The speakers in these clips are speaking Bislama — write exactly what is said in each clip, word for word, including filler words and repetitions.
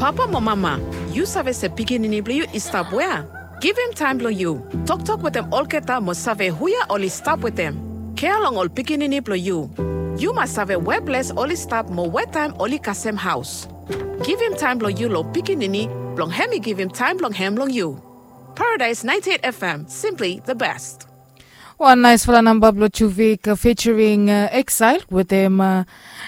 Papa mo mama, yu save se pikinini blong yu i stap wea? Givim taem blong yu. Toktok wetem olgeta mo save huia oli stap wetem. Kea long ol pikinini blong yu. Yu mas save we ples oli stap mo we taem oli kasem haos. Givim taem blong yu long pikinini blong hem i givim taem blong hem long yu. Paradise ninety-eight F M, simply the best. Wan naesfala namba blong Juvik featuring Exile wetem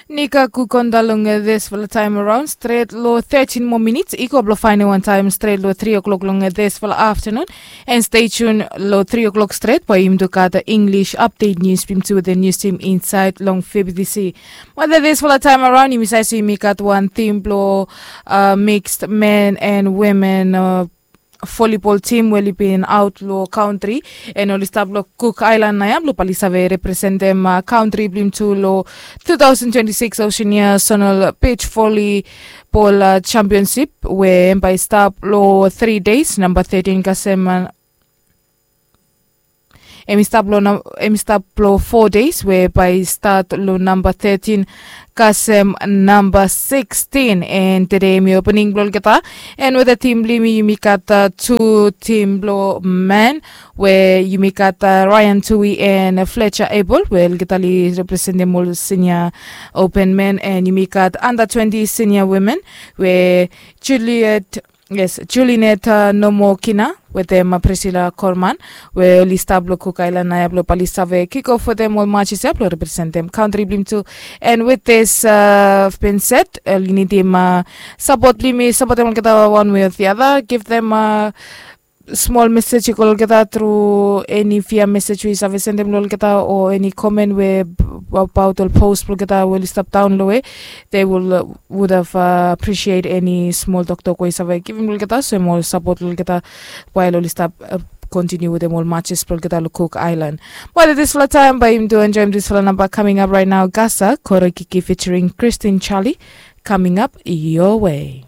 Nika Kukonda long disfala taem araon stret long thirteen moa minits i go blong faenem wan taem stret long three o'clock long disfala aftanun. And stay tuned long three o'clock stret bae yumi tu gat English update news blong yumi tu wetem nius tim insaed long F B C. Wetem disfala taem araon yumi save se yumi gat wan tim blong mixed men and women volleyball tim we oli bin aot long kantri, and oli stap long Cook Island naoia blong bae oli save representem kantri blong yumi tu long two thousand twenty-six Oceania Zonal Beach Volleyball Championship we hem bae i stap long three days, namba thirteen kasem hem i stap long fo deis we bae i stat long namba thirteen kasem namba sixteen. And tede hem i opening blong olgeta. And wetem tim blong yumi yumi gat tu tim blong men we yumi gat Ryan Tui and Fletcher Abel we olgeta oli representem ol senior open men, and yumi gat under twenty senior women we Juliet Yes, Julinet Nomokina wetem Priscilla Korman we oli stap long Cook Island naoia blong bae oli save kick off wetem ol matches ia blong representem kantri blong yumi tu. And with this bin set, oli nidim sapot blong yumi sapotem olgeta one way or the other, give them smol mesej i go long olgeta tru eni via mesej we yu save sendem long olgeta o eni komen we abaot ol post blong olgeta we oli stap daon long we they will would have appreciate eni smol toktok we yu save givim long olgeta so hem ol sapot long olgeta wael oli stap kontiniu wetem ol matches blong olgeta long Cook Island. But at disfala taem bae yumi tu enjoem disfala namba coming up right now, Gasa Korokiki featuring Christine Charlie, coming up your way.